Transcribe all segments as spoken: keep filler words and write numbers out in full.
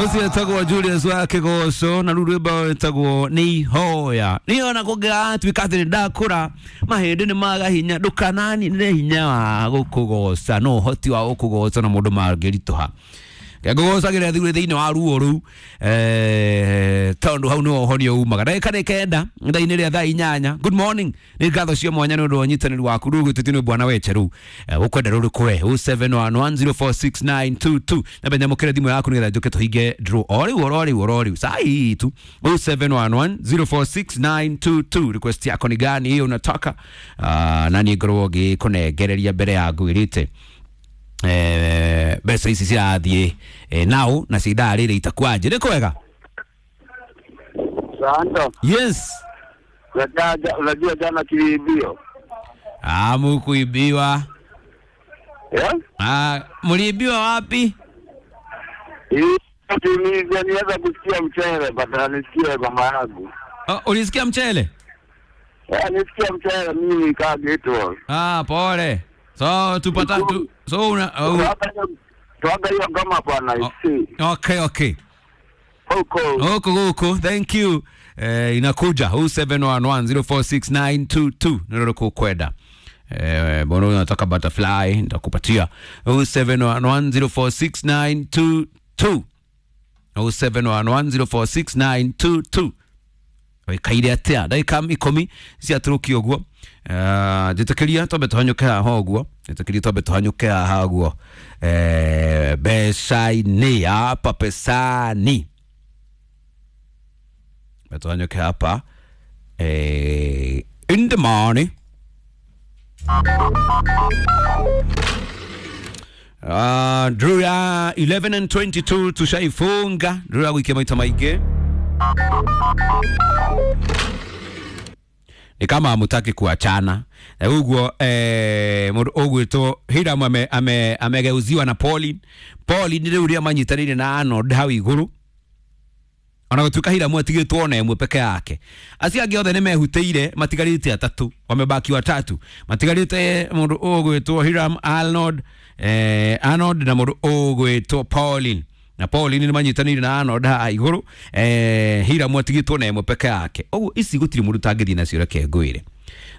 Ucio etagwo Julius wa Kigoco na rĩu rwĩmbo rwĩtagwo nĩ ihoya. Niĩ ona kũngĩgatuĩka atĩ nĩ ndakũra mahĩndĩ nĩ maga hinya, ndũkananinĩre hinya wa gũkũgoca no ũhoti wa gũkũgoca na mũndũ mangĩritũha ngũgocagĩra thirĩ thĩinĩ wa ruo rũu, eh, tondũ hau nĩho ũhonio umaga. Ndagĩka nĩ kenda thaa-inĩ rĩa thaa inyanya. Good morning, nĩ ngatho cia mwanya nĩ ũndũ wa ũnyitanĩri waku. Rĩu gĩtĩti nĩ bwana weche rĩu ũkwenda rũrĩkũ we? zero seven one one zero four six nine two two. Nambe nyamũkĩre thimũ yaku nĩgetha njũke tũhinge draw o rĩu oro rĩu oro rĩu saa hii tu. zero seven one one zero four six nine two two, request yako ni gani hiyo unataka? uh, na niĩ ngorwo ngĩkũnengereria mbere ya ngwĩrĩte eh, mbeca ici cirathiĩ eh, nao na cia ithaa rĩrĩ itakwanje nĩ kwega. Sasa Yes. unajua unajua jana tuliibiwa. Ah, mukuibiwa? Eh? Ah, muliibiwa wapi? Hii Tunisia niweza kusikia mchele badala nisikie mama yangu. Oh, ulisikia mchele? Eh, nisikia mchele mimi nikaa ghetto. Ah, pole. So tupata tu, so una oh, Tuaga hiyo ngoma bwana oh, isi. okay okay Huko. Huko huko, thank you. Eh, inakuja zero seven one one zero four six nine two two ndio kukwenda. Eh, bono unataka butterfly, nitakupatia zero seven one one zero four six nine two two, zero seven one one zero four six nine two two. Wikaire atia ndagĩka ikũmi ciatũrũkia ũguo. Eh, njĩtĩkĩria twambe tũhanyũke haha ũguo, njĩtĩkĩria twambe tũhanyũke haha ũguo. Eh, mbeca-inĩ hapa, pesani tuhanyũke hapa, eh, in the morning. Uh, draw ya eleven and twenty-two tushaifunga, draw ya wiki maita maingĩ ni kama hamutaki kuachana na uguo. eh, mũndũ ũgwĩtwo Hiram ame, ame, amegeuziwa na Pauline. Pauline rĩu rĩa manyitanĩire na Arnold hau igũrũ, ona gũtuĩka Hiramu atigĩtwo ona ĩmwe peke yake, acio angĩ othe nĩ mehutĩire, matigarĩte atatũ, wamebaki watatu, matigarĩte mũndũ ũgwĩtwo Hiram, Arnold, eh, Arnold na mũndũ ũgwĩtwo Pauline, na Pauline nĩ manyitanĩire na Arnold haha igũrũ. eh, Hiramu atigĩtwo na ĩmwe peke yake, ũguo ici gũtirĩ mũndũ ũtangĩthiĩ nacio. Reke ngwĩre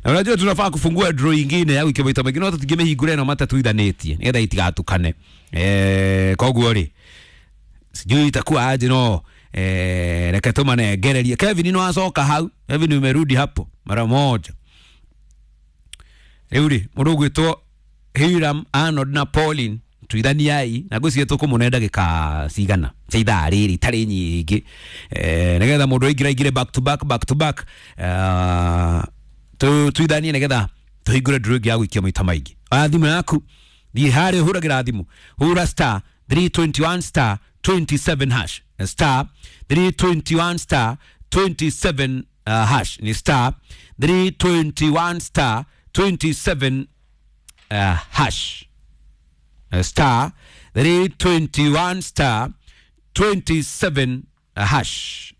na unajua tunafaa kufungua draw ingine ya wiki maita maingĩ, no tũtingĩmĩhingũra ĩno matatuithanĩtie nĩgetha itigatukane. eh, koguo rĩ sijui itakuwa aje, no eh, reke tumanengererie. Kevin no acoka hau. Kevin, umerudi hapo mara moja. Rĩu rĩ mũndũ ũgwĩtwo Hiram, Arnold na Pauline, tuithaniai na ngwĩciria tũkũmũne ndagĩka cigana cia ithaa rĩrĩ itarĩ nyingĩ, eh, nĩgetha mũndũ aingĩra aingĩre back to back, back to back. uh, tu tuithanie nĩgetha tũhingũre draw ĩngĩ ya gũikia maita maingĩ. Oya thimũ yaku, thiĩ harĩa ũhũragĩra thimũ, hũra star three twenty-one star twenty-seven hash, star three twenty-one star twenty-seven uh, hash, ni star three twenty-one star twenty-seven uh, hash, star three twenty-one star twenty-seven uh, hash.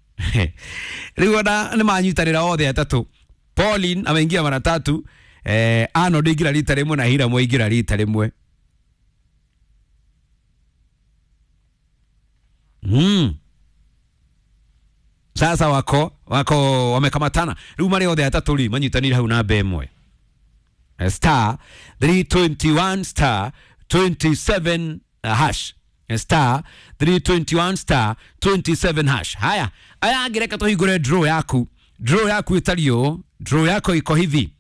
Rĩu ona nĩ manyitanĩra othe atatũ. Pauline ameingia mara tatu, eh, Arnold aingĩra rita rĩmwe na Hiram aingĩra rita rĩmwe. mm. Sasa wako wako wamekamatana rĩu marĩ othe atatũ rĩ manyitanĩire hau namba ĩmwe, star three twenty-one star twenty-seven uh, hash, star three twenty-one star twenty-seven hash. Haya, aya angĩ reke tũhingũre draw yaku. Draw yaku ĩtariĩ ũũ, draw yako iko hivi: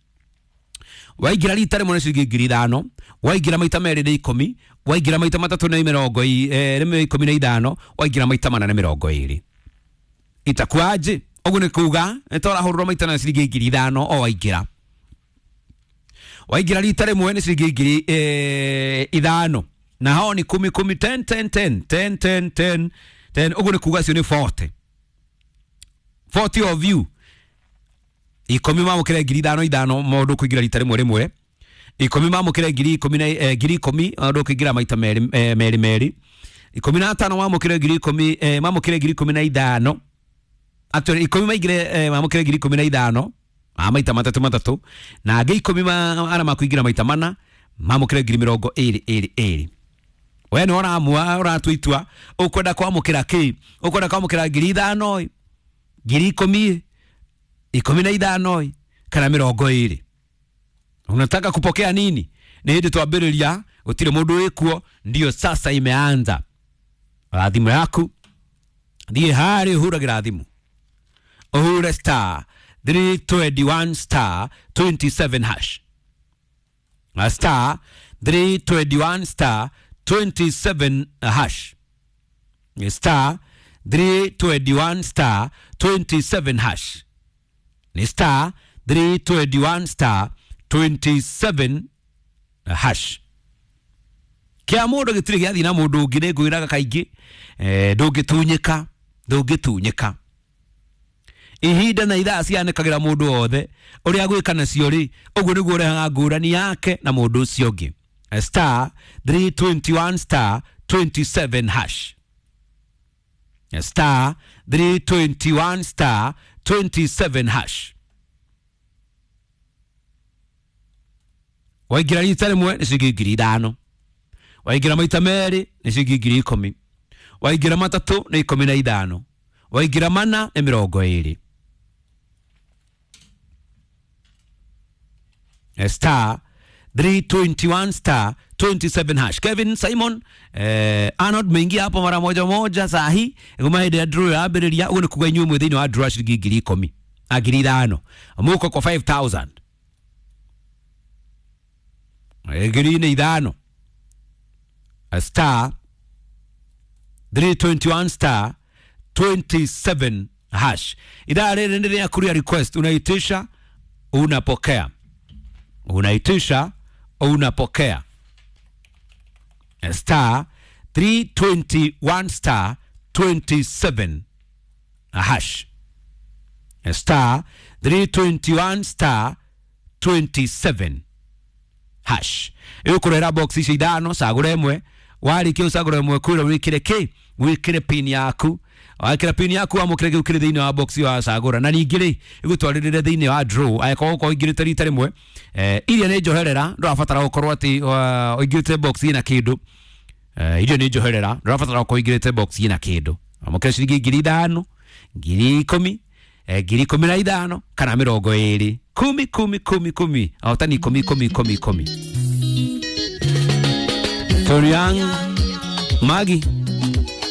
waingĩra rita rĩmwe nĩ ciringi ngiri ithano, waingĩra maita merĩ nĩ ikũmi, waingĩra maita matatũ nĩ mĩrongo i- eh, nĩ ikũmi na ithano, waingĩra maita mana nĩ mĩrongo ĩrĩ. Itakuaje? Ũguo nĩ kuga nĩ torahũrũrwo maita na ciringi ngiri ithano o waingĩra. Waingĩra rita rĩmwe nĩ ciringi ngiri eh, ithano na hao ni kumi kumi, ten ten ten ten ten ten ten. Ũguo nĩ kuga cio nĩ forty forty of you. Ikũmi mamũkĩre ngiri ithano ithano mũndũ kũingĩra rita rĩmwe rĩmwe, ikũmi mamũkĩre ngiri ikũmi na eh, ngiri ikũmi mũndũ kũingĩra maita merĩ eh, merĩ merĩ, ikũmi na atano mamũkĩre ngiri ikũmi eh, mamũkĩre ngiri ikũmi na ithano. Actually ikũmi maingĩre eh, mamũkĩre ngiri ikũmi na ithano a maita matatũ matatũ, na angĩ ikũmi ma arĩa makũingĩra maita mana mamũkĩre ngiri mĩrongo ĩrĩ ĩrĩ ĩrĩ. We nĩ ũramua ũratua itua ũkwenda kwamũkĩra kĩ, ũkwenda kwamũkĩra ngiri ithano, ngiri ikũmi, ikũmi na ithano kana mĩrongo ĩrĩ. Unataka kupokea nini? Nĩ hĩndĩ twambĩrĩria, gũtirĩ mũndũ wĩkuo, ndio sasa imeanza. Thimũ yaku thiĩ harĩ ũhũragĩra thimũ, ũhũre star three twenty-one star twenty-seven hash, star three twenty-one star twenty-seven hash, star three twenty-one star twenty-seven hash, ni star three twenty-one star twenty-seven hash. Kia mundu gitiri giathi na mundu ungi ni ngwiraga kaingi, eh, ndungitunyika, ndungitunyika. Ihinda na ithaa cianĩkagĩra mũndũ wothe ũrĩa gwĩka nacio rĩ, ũguo nĩguo ũrehaga ngũrani yake na mũndũ ũcio ũngĩ. Star three twenty-one star twenty-seven hash, star three twenty-one star twenty-seven hash. Waingĩra rita rĩmwe nĩ ciringi ngiri ithano, waingĩra maita merĩ nĩ ciringi ngiri ikũmi, waingĩra matatũ nĩ ikũmi na ithano, waingĩra mana nĩ mĩrongo ĩrĩ. Star three twenty-one star twenty-seven hash. Kevin Simon, eh, Arnold meingia hapo mara moja moja saa hii ngoma hĩndĩ ya draw yambĩrĩria. Ũguo nĩ kuga inyuĩ mwĩ thĩinĩ wa draw ciringi ngiri ikũmi, a ngiri ithano, mũko kwa five thousand, ngiri nĩ ithano. Star three twenty-one star twenty-seven hash. Idhaa rĩrĩ nĩ rĩa kuria request, unaitisha unapokea, unaitisha unapokea. Star three twenty-one star twenty-seven hash, star three twenty-one star twenty-seven hash. Ĩgũkũrehera box icio ithano, cagũra ĩmwe, warĩkia ũcagũra ĩmwe kwĩra wĩkĩre kĩ, wĩkĩre pin yaku, wakĩra pin yaku wamũkĩre kĩu kĩrĩ thĩinĩ wa box wa cagũra, na ningĩ rĩ ĩgũtwarĩrĩre thĩinĩ wa draw angĩkorwo ũkorwo ũingĩrĩte rita rĩmwe. Eh, iria nĩ njoherera, ndũrabatara gũkorwo atĩ ũingĩrĩte box ĩna kĩndũ. Eh, iria nĩ njoherera, ndũrabatara gũkorwo ũingĩrĩte box ĩna kĩndũ. Wamũkĩre ciringi ngiri ithano, ngiri ikũmi, eh, ngiri ikũmi na ithano kana mĩrongo ĩrĩ, kumi kumi kumi kumi, ahotani ikũmi ikũmi ikũmi ikũmi. Toriang Magi.